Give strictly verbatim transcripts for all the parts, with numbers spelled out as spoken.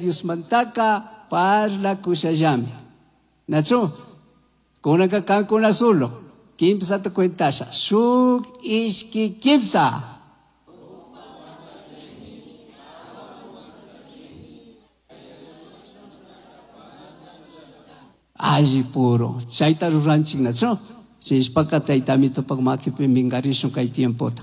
Diosmantaka parlakushallami. Nachu? Kunanka kankuna solo. Kimsata cuentasha. Shuk ishki kimsa. Alli puro. Chayta ruranchik nachu? Chishpaka tayta Amitopak makipi mingarishun kay tiempota.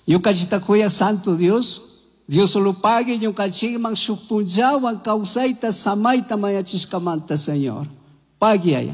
Ñukanchikta kuyak Santo Dios, Dios solo pague ñukanchikman shuk punllawan kawsayta samayta mañachishkamanta, Señor. Pague aya.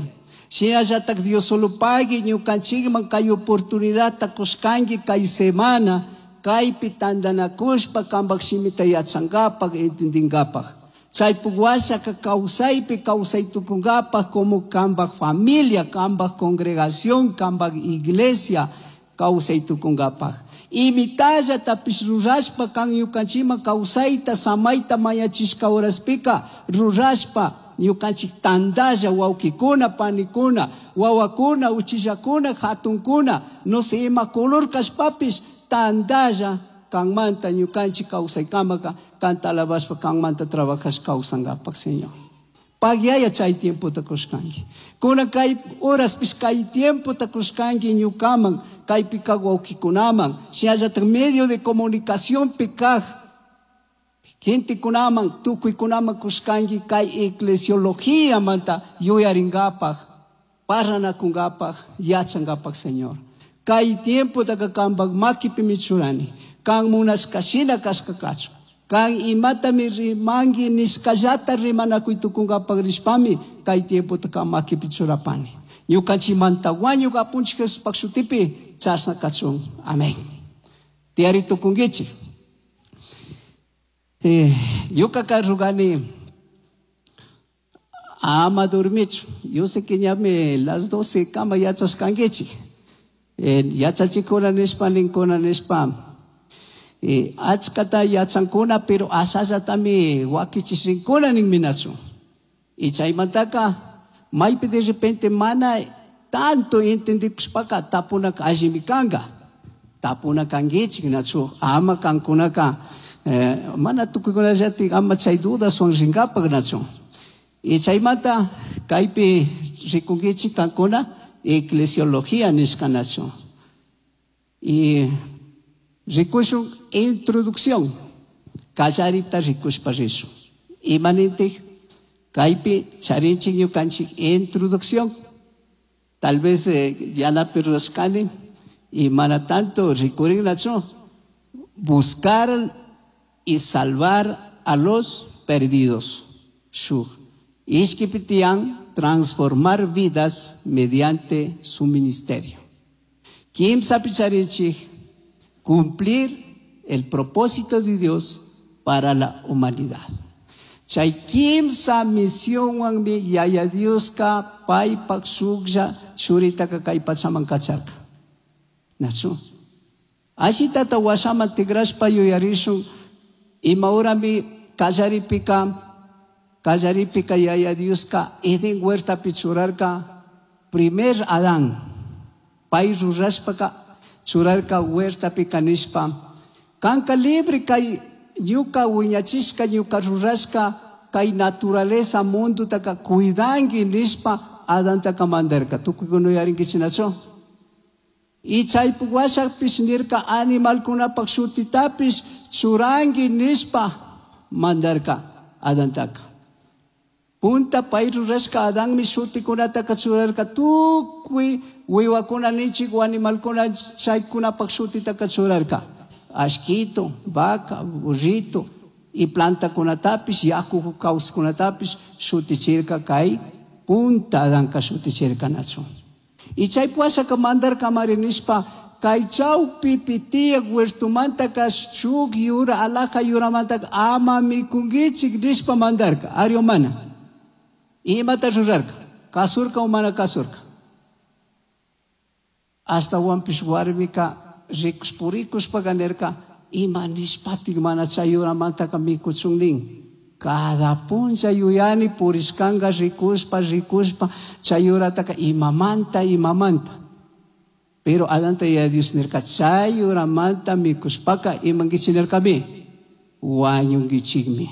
Shinallatak Dios solo pague ñukanchikman kay oportunidadta kushkanki kay semana kaypi tantanakushpa kampak shimita yachankapak entendinkapak. Chaypuk washaka kawsaypi kawsaytukunkapak como kampak familia, kampak congregación, kampak iglesia kawsaytukunkapak. Imitallatapish rurashpa kan ñukanchikman kawsayta samayta mañachishka horaspika rurashpa ñukanchik tantalla wawkikuna, panikuna, wawakuna, uchillakuna, hatunkuna, no sé ima color kashpapish tantalla kanmanta ñukanchik kawsaykamaka kanta alabashpa kanmanta trabajash kawsankapak, Señor. Pagyaya chay tiempota kushkanki. Kuna kay horaspish kay tiempota kushkanki ñukaman, kaypi kaq wawkikunaman, shinallatak medio de comunicacionpi kaq gentekunaman, tukuykunaman kushkanki kay eclesiología manta yuyarinkapak, parlanakunkapak, yachankapak, Señor. Kay tiempotaka kampak makipimi churani. Kan munashkashina kashka kachun. Kan imatami rimanki nishkallata rimanakuytukunkapak rishpami kay tiempotaka makipi churapani. Ñukanchikmanta wañuk apunchik Jesuspak shutipi chashna kachun. Amén. Tiyari tukunkichik. Eh, ñukaka rugani ama dormichu. Yo sé que ñami las doce kama yachashkankichik. Eh, yachachikuna nishpa ninkuna nishpa. Eh, achkata yachankuna pero ashallatami wakichishinkuna ninminachu. Y chaymantaka maypi de repente mana tanto entendikushpaka tapunaka allimi kanka. Tapuna kankichik nachu ama kankunaka eh, mana tukuykunallatik ama chay dudaswan rinkapak nachu. Y chaymanta kaypi rikunkichik kankuna eclesiología nishka nachu. Y rikushun introducción kallarita rikushpa rishun. Imanintik kaypi charinchik ñukanchik introducción. Tal vez eh, yanapi rurashkani y mana tanto rikurin nachu. Buscar y salvar a los perdidos. Shuk. Ishkipitian transformar vidas mediante su ministerio. Kimsa picharinchik cumplir el propósito de Dios para la humanidad. Chay kimsa misionwanmi Yaya Dioska paypak shuklla churitaka kay pachaman kacharka. Nachu. Ashitata washaman tigrashpa yuyarishun ima horami kallaripika, kallaripika Yaya Dioska Edén huertapi churarka primer Adán pay rurashpaka churarka huertapi nishpa kanka libre kay ñuka wiñachishka ñuka rurashka kay naturaleza mundutaka cuidanki nishpa Adantaka mandarka. Tukuykuna yuyarinkichik nachu? Y chaypuk washapish nirka animalkunapak shutitapish churanki nishpa mandarka Adantaka. Punta pay rurashka Adanmi shutikunataka churarka tukuy wiwakuna ninchik animalkuna chaykunapak shutitaka churarka. Ashquito, vaca, burrito y plantakunatapish, yaku kawskunatapish shutichirka kay punta Adanka shutichirka nachu. Y chay puashaka mandarka mari nishpa kay chawpipi tiyak huertumantaka shuk yura alaja yuramantaka ama mikunkichik nishpa mandarka. Ari o mana. Imata rurarka. Kasurka o mana kasurka. Ashtawanpish warmika rikush purikushpaka nirka ima nishpatik mana chay yuramantaka mikuchun nin. Cada punlla yuyani purishkanka rikushpa rikushpa chay yurataka imamanta imamanta. Pero Adanta Yaya Dios nirka chay yuramanta mikushpaka imankichik nirkami wañunkichikmi.